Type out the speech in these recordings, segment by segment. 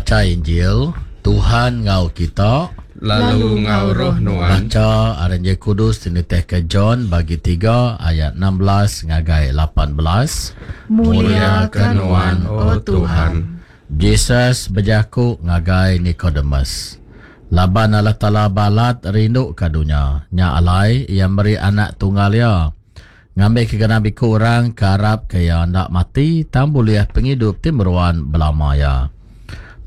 Bacha Injil, Tuhan enggau kita. Lalu enggau roh nuan. Bacha ari Injil Kudus ti nitihka John bagi tiga ayat 16 ngagai 18. Mulia ke nuan, O Tuhan. Jesus bejaku ngagai Nikodemus, Laban Allah Taala balat rinduka dunya, nya alai Iya meri Anak Tunggal Iya, ngambika genap iku orang ke arapka Iya enda mati tang bulih pengidup ti meruan belama iya.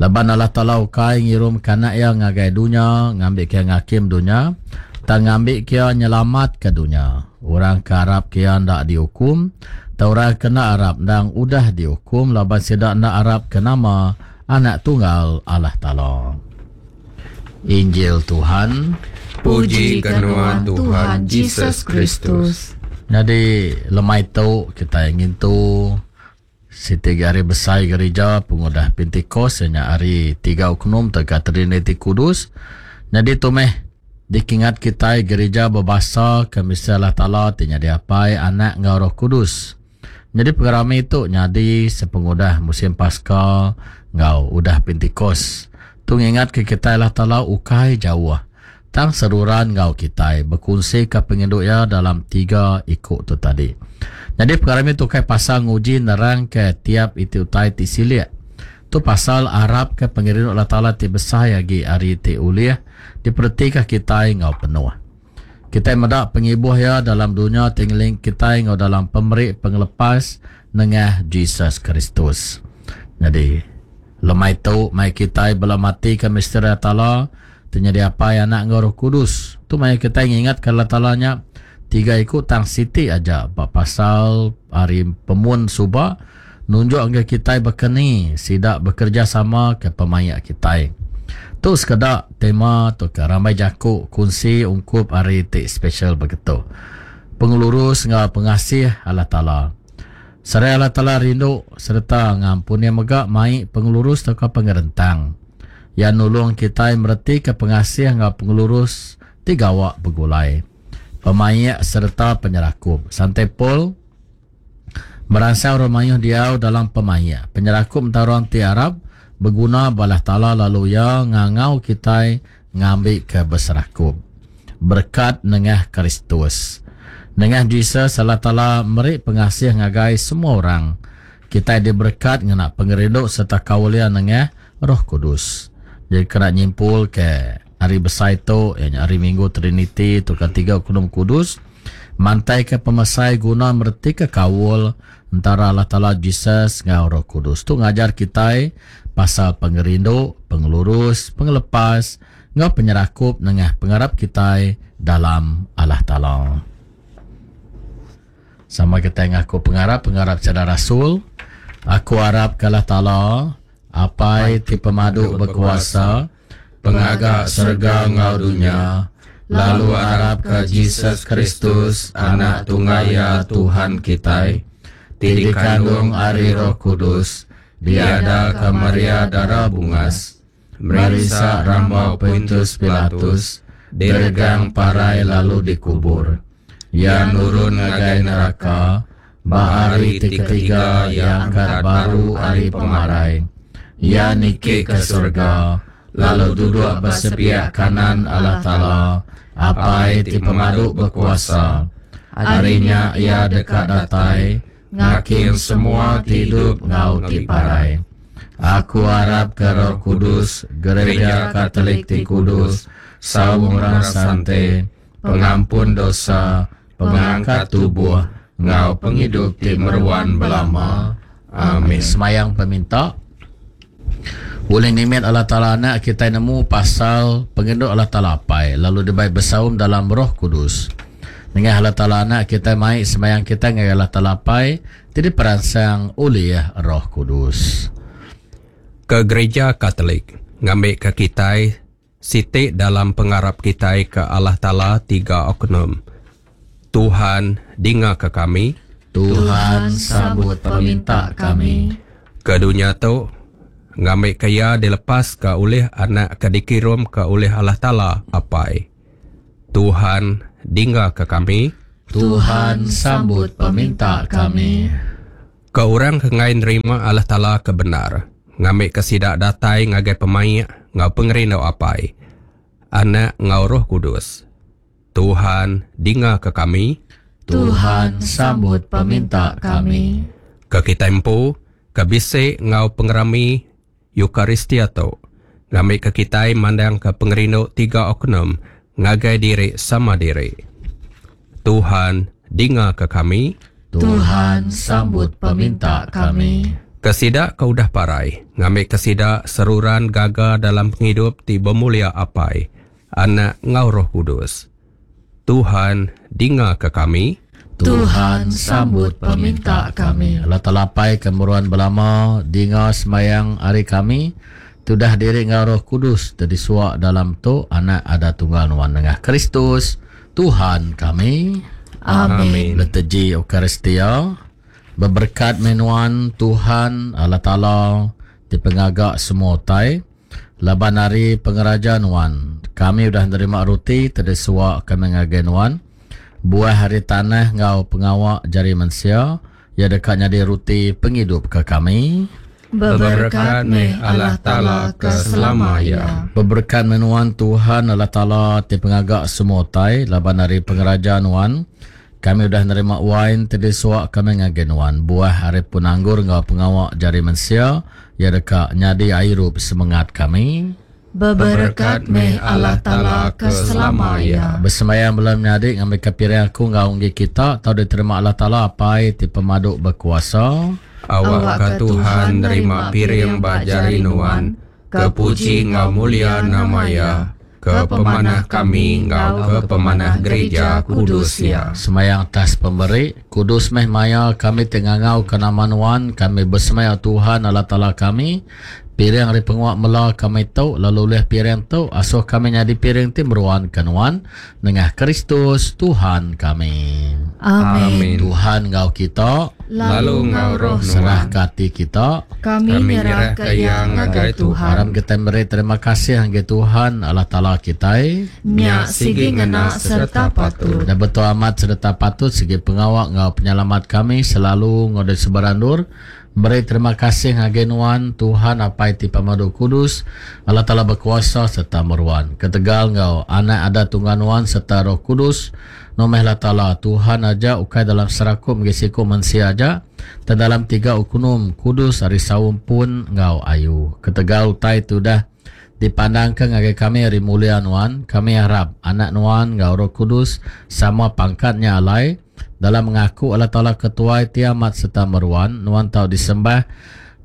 Laban Allah Taala ukai ngirumka Anak Iya ngagai dunya ngambika Iya ngakim dunya, tang ngambika Iya nyelamatka dunya. Orang ke arapka Iya enda diukum, tang orang ke enda arap endang udah diukum laban sida enda arapka nama Anak Tunggal Allah Taala. Injil Tuhan. Puji ke nuan Tuhan Jesus Kristus. Nyadi lemai tu kitai ngintu siti agi hari besai gerija pengudah Pentikos iya nya hari tiga Oknum tauka Triniti Kudus. Nyadi tu meh dikingat kitai gerija bebasa ke misi Allah Taala ti nyadi Apai, Anak enggau Roh Kudus. Nyadi pengerami tu nyadi sepengudah musim Paska enggau udah Pentikos. Tu ngingatka kitai Allah Taala ukai jauh tang seruran enggau kitai bekunsika pengindu iya dalam tiga iku tu tadi. Nyadi pengerami tu ukai pasal nguji nerangka tiap iti utai ti silik. Tu pasal arapka pengerindu Allah Taala ti besai agi ari ti ulih diperetika kitai enggau penuh. Kitai meda pengibuh iya dalam dunya ti ngeling kitai enggau dalam pemeri pengelepas nengah Jesus Kristus. Nyadi, lemai tu mai kitai bela matika misteri Allah Taala ti nyadi Apai, Anak enggau Roh Kudus. Tu maya kitai ngingatka Allah Taala nya tiga iku tang siti aja ba pasal ari pemun suba nunjuk ngagai kitai baka ni sida bekerejasama ke pemaik kitai. Tu sekeda tema tauka rambai jaku kunsi ungkup hari ti spesial begitu. Pengelurus enggau pengasih Allah Taala. Serai Allah Taala rindu sereta ngampun Iya mega mai pengelurus tauka pengerentang. Iya nulung kitai meretika pengasih enggau pengelurus ti gawa begulai. Pemaik sereta penyerakup. Sante Paul Meransang orang mayuh diau dalam pemaik. Penyerakup entara orang ti arap beguna ba Allah Taala lalu Iya ngangau kitai ngambika beserakup. Berekat nengah Kristus. Nengah Jesus, Allah Taala meri pengasih ngagai semua orang. Kitai diberekat ngena pengerindu sereta kaul Iya nengah Roh Kudus. Jadi kena nyimpulka hari besai tu, iya nya Hari Minggu Triniti tauka Tiga Oknum Kudus, Mantaika pemesai guna meretika kaul entara Allah Taala Jesus enggau Roh Kudus. Tu ngajar kitai pasal pengerindu, pengelurus, pengelepas, enggau penyerakup nengah pengarap kitai dalam Allah Taala. Sama kitai ngaku pengarap, pengarap sida rasul. Aku arapka Allah Taala, Apai ti pemadu bekuasa, Pengaga serega enggau dunya, lalu arapka Jesus Kristus, Anak Tunggal Iya Tuhan kitai, ti dikandung ari Roh Kudus, diadaka Maria Dara Bungas, merinsa rambau Pontius Pilatus, diregang parai lalu dikubur. Iya nurun ngagai neraka, Ba hari ti ketiga iya angkat baru ari pemarai. Iya niki ke serega, lalu duduk ba sepiak kanan Allah Taala, Apai ti Pemadu Bekuasa. Ari nya iya deka datai ngakim semua ti idup enggau ti parai. Aku arapka Roh Kudus, Gereja Katolik ti kudus, saum orang sante, pengampun dosa, pengangkat tubuh, enggau pengidup ti meruan belama. Amin. Semayang peminta. Ulih nimit Allah Taala Anak kitai nemu pasal pengerindu Allah Taala Apai lalu dibai besaum dalam Roh Kudus. Nengah Allah Taala Anak kitai mai semayang kitai ngagai Allah Taala Apai ti diperansang ulih Roh Kudus. Ke Gereja Katolik ngambika kitai Siti dalam pengarap kitai ke Allah Taala tiga oknum. Tuhan, dingaka kami. Tuhan, sambut peminta kami. Ke dunya tu, ngambika iya dilepaska ulih Anak ke dikirumka ulih Allah Taala Apai. Tuhan, dingaka kami. Tuhan, sambut peminta kami. Ke orang ke enggai nerima Allah Taala ke bendar. ngambika sida datai ngagai pemaik enggau pengerindu Apai, Anak enggau Roh Kudus. Tuhan, dingaka kami. Tuhan, sambut peminta kami. Ke kitai empu, ke bisi enggau pengerami Eucharistia tu, ngambika kitai mandangka pengerindu tiga oknum ngagai diri sama diri. Tuhan, dingaka kami. Tuhan, sambut peminta kami. Ke sida ke udah parai, ngambika sida seruran gaga dalam pengidup ti bemulia Apai, Anak enggau Roh Kudus. Tuhan, dingaka kami. Tuhan, sambut peminta kami. Allah Taala Apai ke meruan belama, dinga sembayang ari kami, tudah diri enggau Roh Kudus ti disuak dalam tu Anak Ada Tunggal Nuan nengah Kristus, Tuhan kami. Amin. Liturgi Eucharistia, Beberekat meh nuan, Tuhan, Allah Taala ti pengaga semua utai, Laban ari pengeraja Nuan, kami udah nerima ruti ti disua kami ngagai Nuan, buah ari tanah enggau pengawa jari mensia, iya deka nyadi ruti pengidup ke kami. Beberekat meh Allah Taala ke selama iya. Beberekat meh Nuan, Tuhan Allah Taala ti pengaga semua utai, laban ari pengeraja Nuan, kami udah nerima wain ti disua kami ngagai Nuan, buah ari pun anggur enggau pengawa jari mensia, iya deka nyadi airup semengat kami. Beberekat meh Allah Taala ke selama iya. Besembayang bala menyadi ngambika piring aku enggau enggi kita tau diterima Allah Taala Apai ti pemadu bekuasa. Awakka Tuhan nerima piring ba jari nuan, ke puji enggau mulia nama Iya, ke pemanah kami enggau ke pemanah gerija kudus Iya. Semayang atas pemeri, Kudus meh maya kami ti ngangauka nama Nuan, kami besemaya Tuhan Allah Taala kami, piring ari penguak mela kami tu, lalu ulih piring tu, asuh kami nyadi piring ti meruan ke Nuan, nengah Kristus Tuhan kami. Amin. Tuhan enggau kita. Lalu enggau roh nuan. Serahka ati kita. Kami nyerahka iya ngagai Tuhan. Aram kitai meri terima kasih ngagai Tuhan Allah Taala kitai. Nya sigi ngena sereta patut. Nya betul amat sereta patut sigi pengawa enggau penyelamat kami selalu enggau di sebarang endur. Meri terima kasih ngagai Nuan, Tuhan Apai ti Pemadu Kudus, Allah Taala Bekuasa sereta Meruan. Ketegal enggau Anak Ada Tunggal Nuan sereta Roh Kudus, Nuan meh Allah Taala, Tuhan aja ukai dalam serakup ngagai siku mensia aja, tang dalam tiga ukunum kudus ari saum pun enggau ayu. Ketegal utai ti udah dipandangka ngagai kami ari mulia Nuan, kami arap Anak Nuan enggau Roh Kudus sama pangkat nya alai, Dalam ngaku Allah Taala ke Tuai ti amat sereta meruan, nuan tau disembah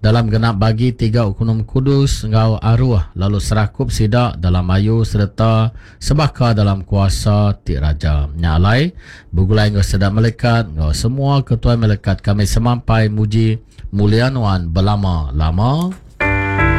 dalam genap bagi tiga Ukunum Kudus enggau aruh lalu serakup sida dalam ayu sereta sebaka dalam kuasa ti raja. Nya alai, begulai enggau sida melikat enggau semua ketuai melikat kami semampai muji mulia nuan belama-lama.